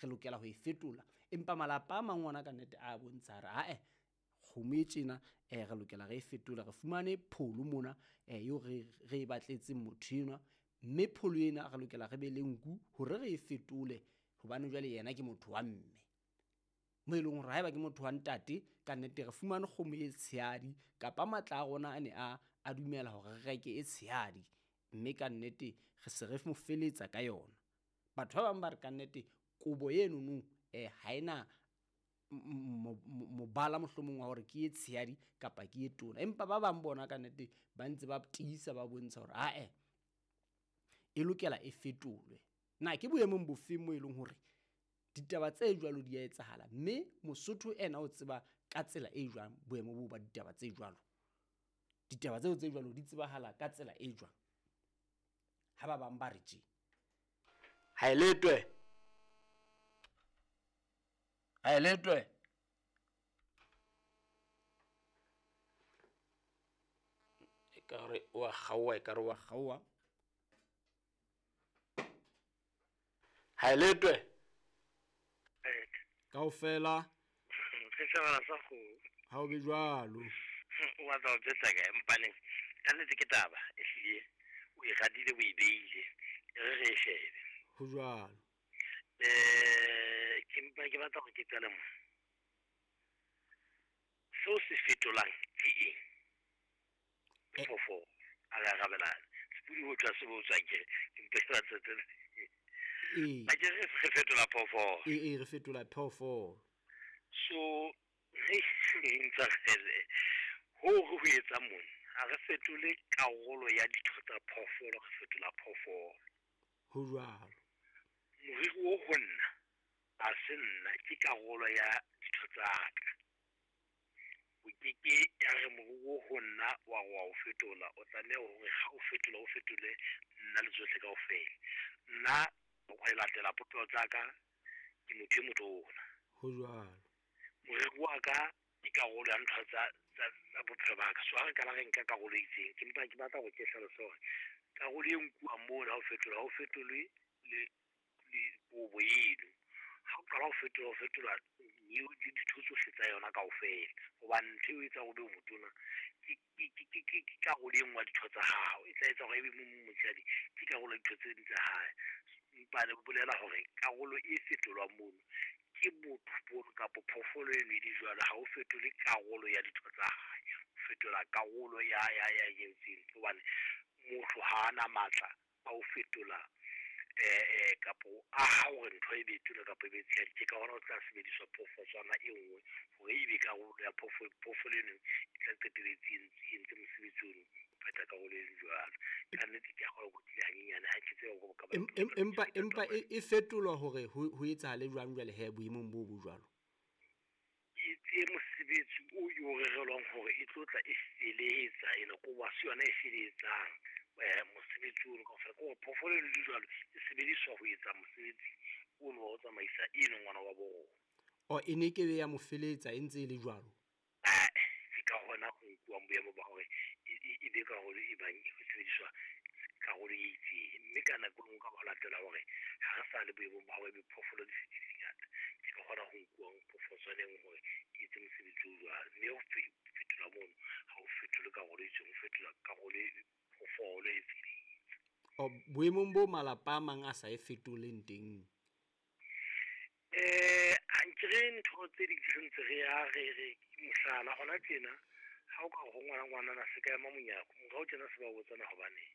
Re lokela ho e fetola. Empa malapa a mang ona ka nnete a bontsha hore ae kgomo e tjena re lokela re e fetole, re fumane pholo mona eo re e batletseng motho enwa, mme pholo ena re lokela re be le nku hore re e fetole hobane jwale yena ke motho wa mme. Mo e leng hore haeba ke motho wa ntate ka nnete re fumane kgomo e tshehadi kapa matla a rona a ne a dumela hore re reke e tshehadi, mme ka nnete re se re mo feletsa ka yona. Batho ba bang ba re kannete kobo enono ha ena mobala mohlomong wa hore ke e tshehadi kapa ke e tona, empa ba bang bona ka nnete ba ntse ba tiisa ba bontsha hore ae e lokela e fetolwe. Na ke boemong bofeng moo e leng hore ditaba tse jwalo di a etsahala, mme Mosotho ena o tseba ka tsela e jwang boemo boo ba ditaba tse jwalo? Ditaba tseo tse jwalo di tsebahala ka tsela e jwang? Ha ba bang ba re tje. Ha e letwe. Ha e letwe. Ekare wa kgaoha, ekare wa kgaoha. Ha e letwe. Kaofela. Re shebana sa kgomo. Ha o be jwalo. O batla ho jwetsa kae mpaneng? Ka nnete ke taba e hlile o e radile o e beile. Re re e shebe. Ho jwalo. Ke mpa ke batla hore ke qale mo. Seo se fetolang ke eng? Phoofolo. A re arabelane. Sepudi ho tswa se botswa ke ke mpe ke batla tse. A ke re fetola phoofolo. Ee, re fetola phoofolo. So re ntshwarele ho re ho etsa mona ha re fetole karolo ya ditho tsa phoofolo, re fetola phoofolo. Ho jwalo. Moriri o ho nna ha se nna, ke karolo ya ditho tsa ka. O keke ya re moriri o ho nna wa re wa o fetola, o tlameha hore ha o fetola o fetole nna le tsohle kaofela. Nna ho latela popelo tsa ka ke motho e motona. Ho jwalo. Moriri wa ka ke karolo ya ntho tsa bophelo ba ka. So ha re qala re nka karolo e itseng, ke mpa ke batla hore ke hlalose hore karolo e nkuwang mona ha o fetola, ha o fetolwe le kobo eno. Ha o qala ho fetola, o fetola le ditho tsohle tsa yona kaofela. Hobane ntho eo e etsang hore o be motona ke karolo e nngwe ya ditho tsa hao. E tla etsa hore ebe motshehadi ke karolo ya ditho tse ding tsa hae. Empa le bolela hore karolo e fetolwang mono ke botho bono kapa phoofolo eno e le jwalo. Ha o fetole karolo ya ditho tsa hae, o fetola karolo ya entseng. Hobane motho ha ana matla a ho fetola kapo aha hore ntho e be tona kapa e be tshehadi. Ke ka hona ho tla sebediswa phoofotswana e nngwe hore ebe karolo ya phoofolo eno e tla qetelletse e entse mosebetsi ono, o phetha karolo e jwalo. Ka nnete ke a kgolwa ke tlile hanyenyane, ha ke tsebe hore ka Empa empa e fetolwa hore ho etsahale jwang jwale he boemong bo bo jwalo? E etse mosebetsi o e o rerelwang hore e tlo tla e felehetsa ena, kobo ha se yona e felehetsang mosebetsi ono kaofela. Ke hore phoofolo eno le jwalo e sebediswa ho etsa mosebetsi ono wa ho tsamaisa eno ngwana wa bo rona. O e ne kebe ya mo feletsa e ntse e le jwalo? Ke ka hona ho nkuwang boemo ba hore e be karolo e bang e sebediswa karolo e itseng. Mme ka nako e nngwe ka ho latela hore ha re sa le boemong ba hore ebe phoofolo di se di le ngata, ke ka hona ho nkuwang phoofotswana e nngwe hore e etse mosebetsi o jwalo. Mme ho fetola mono ha o fetole karolo e itseng, o fetola karolo e phoofolo e feletse. O boemong bo malapa a mang a sa e fetoleng teng? Ha nkere ntho tse ding re ntse re ya re mohlala hona tjena ha o ka ho ngwana ngwanana se ka ema monyako morao tjena se ba botsana hobaneng.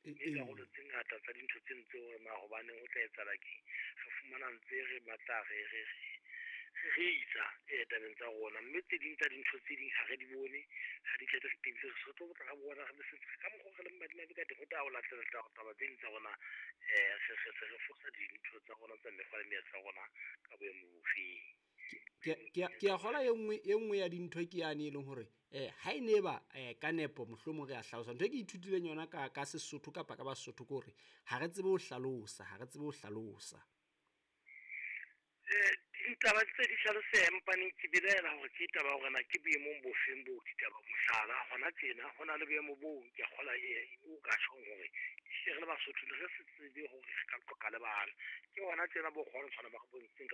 Mme karolo tse ngata tsa dintho tse ntse hore na hobaneng ho tla etsahala keng, re fumana ntse re batla re isa tabeng tsa rona. Mme tse ding tsa dintho tse ding ha re di bone, ha di tle re tebile, re tlo batla re bona re se ka mokgwa re leng madimabe ka teng. Ho tla ho latela taba tse ding tsa rona, re se re fosa dintho tsa rona tsa mekgwa le meetlo ya rona ka boemo bofeng. Ke a kgolwa e nngwe ya dintho ke yane e leng hore ha e ne ba ka nepo mohlomong re a hlalosa. Ntho e ke ithutileng yona ka Sesotho kapa ka Basotho ke hore ha re tsebe ho hlalosa, ha re tsebe ho hlalosa. Ditaba tse di hlaloseha, empaneng ke belaela hore ke taba ya hore na ke boemong bofeng bo ditaba. Mohlala, hona tjena ho na le boemo boo ke a kgola o ka tjhong hore ehlile re le Basotho ne re se tsebe hore re ka qoqa le bana. Ke hona tjena bo kgona ho tshwana ba re bontshitseng ka.